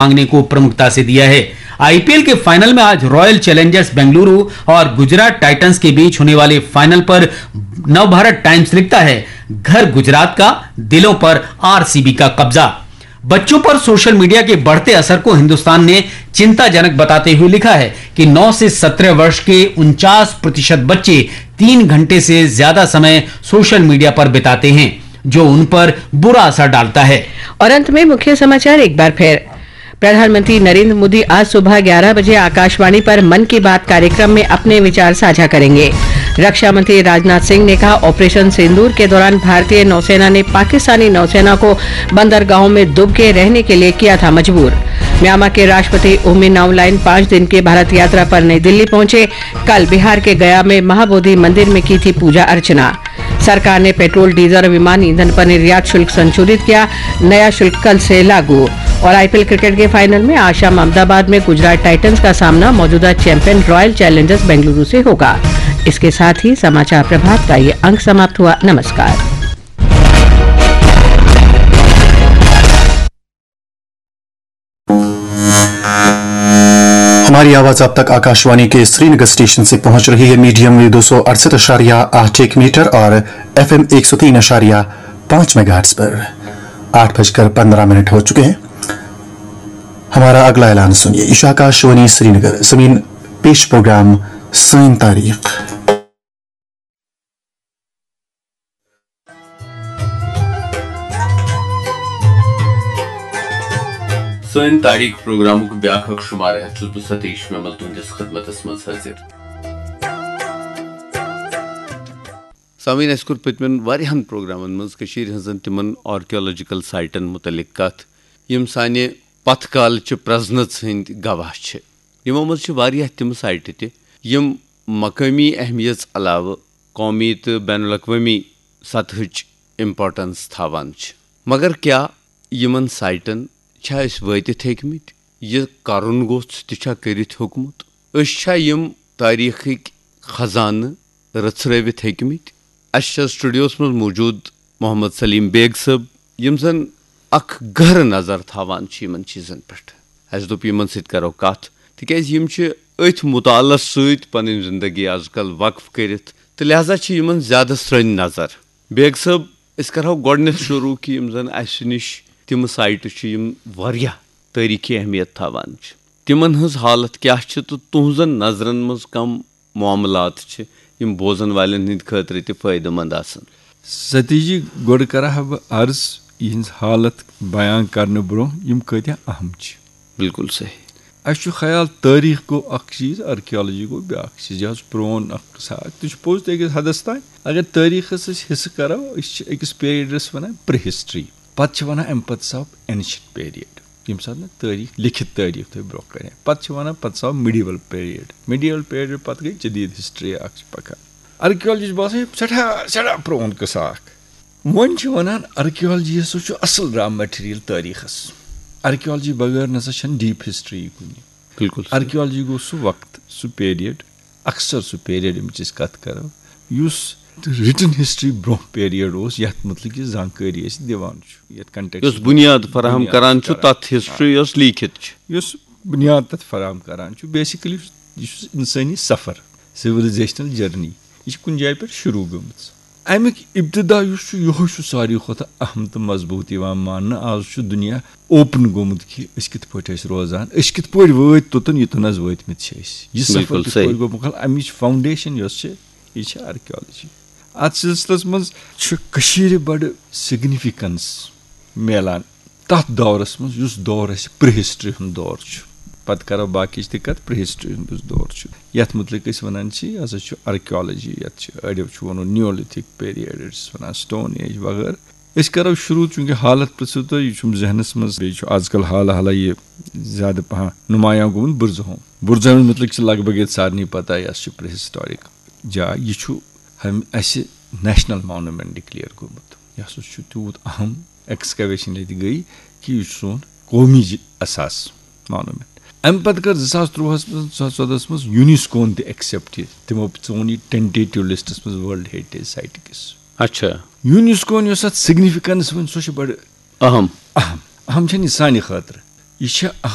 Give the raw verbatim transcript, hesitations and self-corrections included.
मांगने को प्रमुखता से दिया है। आईपीएल के फाइनल में आज रॉयल चैलेंजर्स बेंगलुरु और गुजरात टाइटंस के बीच होने वाले फाइनल पर नवभारत टाइम्स लिखता है, घर गुजरात का, दिलों पर आरसीबी का कब्जा। बच्चों पर सोशल मीडिया के बढ़ते असर को हिंदुस्तान ने चिंताजनक बताते हुए लिखा है कि नौ से सत्रह वर्ष के उनचास प्रतिशत बच्चे तीन घंटे से ज्यादा समय सोशल मीडिया पर बिताते हैं, जो उन पर बुरा असर डालता है। और अंत में मुख्य समाचार एक बार फिर। प्रधानमंत्री नरेंद्र मोदी आज सुबह ग्यारह बजे आकाशवाणी पर मन की बात कार्यक्रम में अपने विचार साझा करेंगे। रक्षा मंत्री राजनाथ सिंह ने कहा, ऑपरेशन सिंदूर के दौरान भारतीय नौसेना ने पाकिस्तानी नौसेना को बंदरगाहों में दुबके रहने के लिए किया था मजबूर। म्यांमार के राष्ट्रपति उमिन आउंग लाइन पांच दिन की भारत यात्रा पर नई दिल्ली पहुंचे। कल बिहार के गया में महाबोधि मंदिर में की थी पूजा अर्चना। सरकार ने पेट्रोल, डीजल और विमान ईंधन पर निर्यात शुल्क संशोधित किया। नया शुल्क कल से लागू। और आईपीएल क्रिकेट के फाइनल में आज शाम अहमदाबाद में गुजरात टाइटंस का सामना मौजूदा चैंपियन रॉयल चैलेंजर्स बेंगलुरु से होगा। इसके साथ ही समाचार प्रभात का ये अंक समाप्त हुआ। नमस्कार। हमारी आवाज अब तक आकाशवाणी के श्रीनगर स्टेशन से पहुंच रही है, मीडियम वेव दो सौ अड़सठ अशारिया आठ एक मीटर और एफएम एक सौ तीन अशारिया पांच मेगाहर्ट्ज पर। आठ बजकर पन्द्रह मिनट हो चुके हैं। हमारा अगला ऐलान सुनिए। यह आकाशवाणी श्रीनगर। समीन, पेश प्रोग्राम सैन तारीख। سٲنۍ تاریخ پروگرامُک بیٛاکھ اکھ شمارٕ ہٮ۪تھ چھُس بہٕ ستیش میمل تُہنٛدِس خدمتس منٛز حٲضِر۔ سامعین، اسہِ کوٚر پٔتمٮ۪ن واریاہن پروگرامن منٛز کٔشیٖرِ ہٕنٛزن تِمن آرکیولوجیکل سایٹن مُتعلق کتھ، یِم سانہِ پتھ کالچہِ پرزنس ہٕنٛدۍ گواہ چھِ۔ یِمو منٛز چھِ واریاہ تِم سایٹہٕ تہِ، یِم مقٲمی اہمیژ علاوٕ قومی تہٕ بین الاقوٲمی سطحٕچ امپورٹنس تھاوان چھِ۔ مگر کیا یِمن سایٹن چھا أسۍ وٲتِتھ ہیٚکمٕتۍ؟ یہِ کرُن گوٚژھ تہِ چھا کٔرِتھ ہیوٚکمُت؟ أسۍ چھا یِم تٲریخٕکۍ خزانہٕ رژھرٲوِتھ ہیٚکمٕتۍ؟ اسہِ چھِ سٹوڈیوس منٛز موجود محمد سلیم بیگ صٲب، یِم زن اکھ گہرٕ نظر تھاوان چھِ یِمن چیٖزن پٮ۪ٹھ۔ اسہِ دوٚپ یِمن سۭتۍ کرو کتھ، تِکیازِ یِم چھِ أتھۍ مُطالعس سۭتۍ پنٕنۍ زندگی از کل وقف کٔرِتھ، تہٕ لہذا چھِ یِمن زیادٕ سرٛنۍ نظر۔ بیگ صٲب، أسۍ کرہو گۄڈٕنیتھ شروع کہِ یِم زن اسہِ نِش تِم سایٹہٕ چھِ، یِم واریاہ تٲریخی اہمیت تھاوان چھِ، تِمن ہٕنٛز حالت کیاہ چھِ تہٕ تُہنٛزن نظرن منٛز کم معاملات چھِ، یِم بوزن والٮ۪ن ہٕنٛدِ خٲطرٕ تہِ فٲیدٕ مند آسن؟ ستیش جی، گۄڈٕ کرٕ ہا بہٕ عرض، یِہنٛز حالت بیان کرنہٕ برونٛہہ یِم کۭتیاہ اہم چھِ۔ بالکل صحیح۔ اسہِ چھُ خیال، تٲریخ گوٚو اکھ چیٖز، آرکیالجی گوٚو بیٛاکھ چیٖز۔ یہِ حظ چھُ پرٛون اکھ قصہٕ اکھ۔ تہِ چھُ پوٚز تہِ أکِس حدس تام۔ اگر تٲریخس أسۍ حصہٕ کرو، أسۍ چھِ أکِس پیریڈس ونان پری ہسٹری۔ پتہٕ چھِ ونان، امہِ پتہٕ آو اینشنٹ پیریڈ، ییٚمہِ ساتہٕ نہٕ تٲریخ، لیکھِتھ تٲریخ تھٲوۍ برونٛہہ کنہِ۔ پتہٕ چھِ ونان، پتہٕ آو میڈیول پیریڈ۔ میڈیول پیریڈ پتہٕ گٔے جدید ہسٹری اکھ چھِ پکان۔ آرکیالجی چھِ باسان، یہِ سٮ۪ٹھاہ، سٮ۪ٹھاہ پرٛون قصہٕ اکھ۔ وۄنۍ چھِ ونان، آرکیالجی ہسا چھُ اصل را مٹیریل تٲریخس۔ آرکیالجی بغٲر نسا چھنہٕ ڈیپ ہسٹری کُنہِ۔ بالکل۔ آرکیالجی گوٚو سُہ وقت، سُہ پیریڈ، اکثر سُہ پیریڈ، ییٚمِچ أسۍ کتھ کرو، یُس رِٹن ہسٹری برونٛہہ پیریڈ اوس، یتھ متعلق یہِ زانکٲری أسۍ دِوان چھُ، یتھ کنٹیکسٹ یۄس بُنیاد فراہم بُنیاد کران چھُ کران۔ تتھ ہسٹری یۄس لیٖکھِتھ چھِ۔ یُس بُنیاد تتھ فراہم کران چھُ، بیسیکلی یُس، یہِ چھُ انسٲنی سفر، سویلایزیشنل جرنی۔ یہِ چھِ کُنہِ جایہِ پٮ۪ٹھ شروع گٔمٕژ۔ امیُک ابتدا یُس چھُ، یِہوٚے چھُ ساروی کھۄتہٕ اہم تہٕ مضبوٗط یِوان ماننہٕ۔ آز چھُ دُنیا اوپن گوٚمُت کہِ أسۍ کِتھ پٲٹھۍ ٲسۍ روزان، أسۍ کِتھ پٲٹھۍ وٲتۍ توٚتن، یوٚتن حظ وٲتۍ مٕتۍ چھِ أسۍ۔ یہِ سفر بالکل کِتھ صحیح۔ پٲٹھۍ گوٚو مُکمل، امِچ فاؤنڈیشن یۄس چھِ، یہِ چھِ آرکیالجی۔ اتھ سلسلس منٛز چھُ کٔشیٖرِ بڑٕ سگنیفیکنس میلان تتھ دورس منٛز، یُس دور اسہِ پری ہسٹری ہُنٛد دور چھُ۔ پتہٕ کرو باقٕچ تہِ کتھ، پری ہسٹری ہُنٛد یُس دور چھُ، یتھ مُتعلق أسۍ ونان چھِ، یہِ ہسا چھُ آرکیالجی، یتھ چھِ اڑیو چھُ ونان نیولتھک پیریڈ، أڑۍ چھِس ونان سٹون ایج وغٲرٕ۔ أسۍ کرو شروع، چونکہ حالت پرژھِو تُہۍ، یہِ چھُم ذہنس منٛز، بیٚیہِ چھُ آز کل حالہ حالہ یہِ زیادٕ پہن نمایاں گوٚمُت بُرزہوم۔ بُرزہومہِ مُتعلق چھِ لگ بگ ییٚتہِ سارنٕے پتہ، یہِ ہسا چھُ پری ہسٹورک جاے۔ یہِ چھُ ہم-، اسہِ نیشنل مانومینٹ ڈکلیئر گوٚمُت۔ یہِ ہسا چھُ تیوٗت اہم ایکسکیویشن ییٚتہِ گٔے کہِ یہِ چھُ سون قومی جِ-، اثاث مانومینٹ۔ امہِ پتہٕ کٔر زٕ ساس ترٛۆہس منٛز، زٕ ساس ژۄدہس منٛز یونیسکون تہِ ایکسپٹ یہِ۔ تِمو ژون یہِ ٹینٹیٹیو لسٹس منٛز ورلڈ ہیریٹیج سائٹ کِس۔ اچھا۔ یونیسکون یۄس اتھ سگنیفیکنس وۄنۍ، سۄ چھِ بڑٕ اہم۔ اہم۔ اہم چھنہٕ یہِ سانہِ خٲطرٕ۔ یہِ چھِ